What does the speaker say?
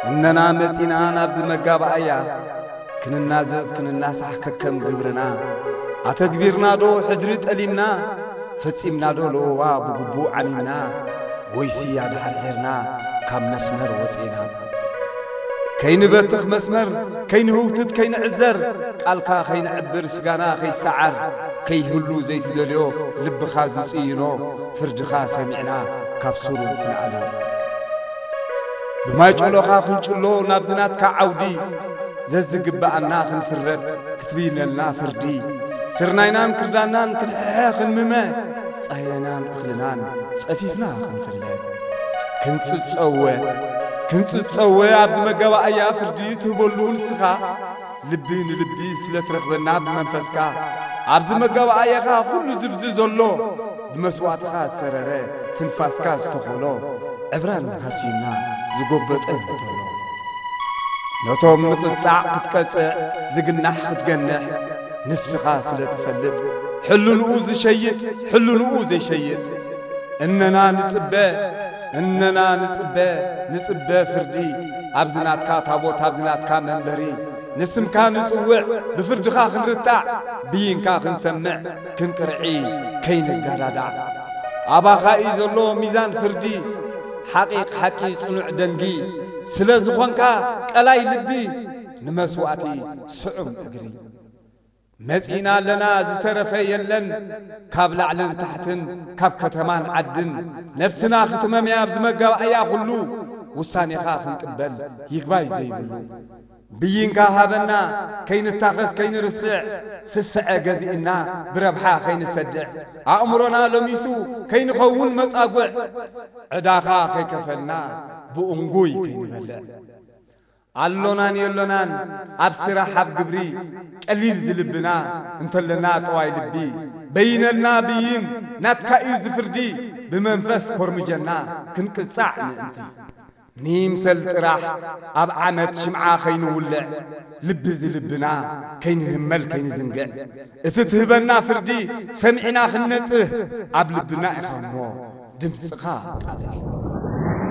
እነና መጺና ናብዚ መጋባእያ፣ ክንናዘዝ ክንናሳሕ ከከም ግብርና። ኣተግቢርናዶ ሕድሪ ጠሊምና፣ ፈጺምናዶ ለወዋ ብግቡእ ዓኒና፣ ወይሲ ኣድሓርሒርና ካብ መስመር ወጺና? ከይንበትኽ መስመር፣ ከይንህውትት ከይንዕዘር፣ ቃልካ ከይንዕብር ስጋና ከይሰዓር፣ ከይህሉ ዘይትደልዮ ልብኻ ዝጽይኖ ፍርድኻ ሰሚዕና ካብ ሱሩ ክንኣልዮ። ብማይጨሎኻ ክንጭሎ ናብዚ ናትካ ዓውዲ፣ ዘዝግብኣና ክንፍረድ ክትብይነልና ፍርዲ፣ ስርናይናን ክርዳናን ክንሕሐ ክንምመ፣ ጻህያናን እኽልናን ጸፊፍና ክንፍለ። ክንጽጸወ፣ ክንጽጸወ ኣብዚ መጋባእያ ፍርዲ ትህበሉ ንስኻ፣ ልቢ ንልቢ ስለ ትረኽበና ብመንፈስካ፣ ኣብዚ መጋባእያኻ ኩሉ ዝብዚ ዘሎ፣ ብመስዋእትኻ ዝሰረረ ትንፋስካ ዝተኾሎ፣ ዕብራን ሃስዩና ዝጎበጠ እንተሎ። ነቶም ንቕጻዕ ክትቀጽዕ ዝግናሕ ክትገንሕ ንስኻ ስለ ትፈልጥ፣ ሕልንኡ ዝሸይጥ ሕልንኡ ዘይሸይጥ፣ እነና ንጽበ፣ እነና ንጽበ፣ ንጽበ ፍርዲ ኣብዚ ናትካ ታቦት ኣብዚ ናትካ መንበሪ፣ ንስምካ ንጽውዕ ብፍርድኻ ክንርታዕ፣ ብይንካ ክንሰምዕ ክንቅርዒ ከይንጋዳዳዕ። ኣባኻ እዩ ዘሎ ሚዛን ፍርዲ፣ ሓቒቕ ሓቂ ጽኑዕ ደንጊ፣ ስለ ዝኾንካ ቀላይ ልቢ ንመስዋእቲ ስዑም እግሪ። መጺእና ኣለና ዝተረፈ የለን፣ ካብ ላዕልን ታሕትን ካብ ከተማን ዓድን፣ ነፍስና ክትመምያ ኣብዚ መጋባእያ ኩሉ፣ ውሳኔኻ ክንቅበል ይግባይ ዘይብሉ። ብይንካ ሃበና ከይንታኸስ ከይንርስዕ፣ ስስዐ ገዚእና ብረብሓ ከይንሰድዕ፣ ኣእምሮና ለሚሱ ከይንኸውን መጻጉዕ፣ ዕዳኻ ከይከፈልና ብእንጉይ ከይንበልዕ። ኣሎናን የሎናን ኣብ ስራሕ ኣብ ግብሪ፣ ቀሊል ዝልብና እንተለና ጠዋይ ልቢ፣ በይነልና ብይን ናትካ እዩ ዝፍርዲ፣ ብመንፈስ ኮርምጀና ክንቅጻዕ ምእንቲ። ንይምሰል ጥራሕ ኣብ ዓመት ሽምዓ ከይንውልዕ፣ ልቢ ዝልብና ከይንህመል ከይንዝንግዕ፣ እቲ ትህበና ፍርዲ ሰሚዕና ክንነጽህ፣ ኣብ ልብና ኢኻ እሞ ድምጽኻ ኣቃልሕ።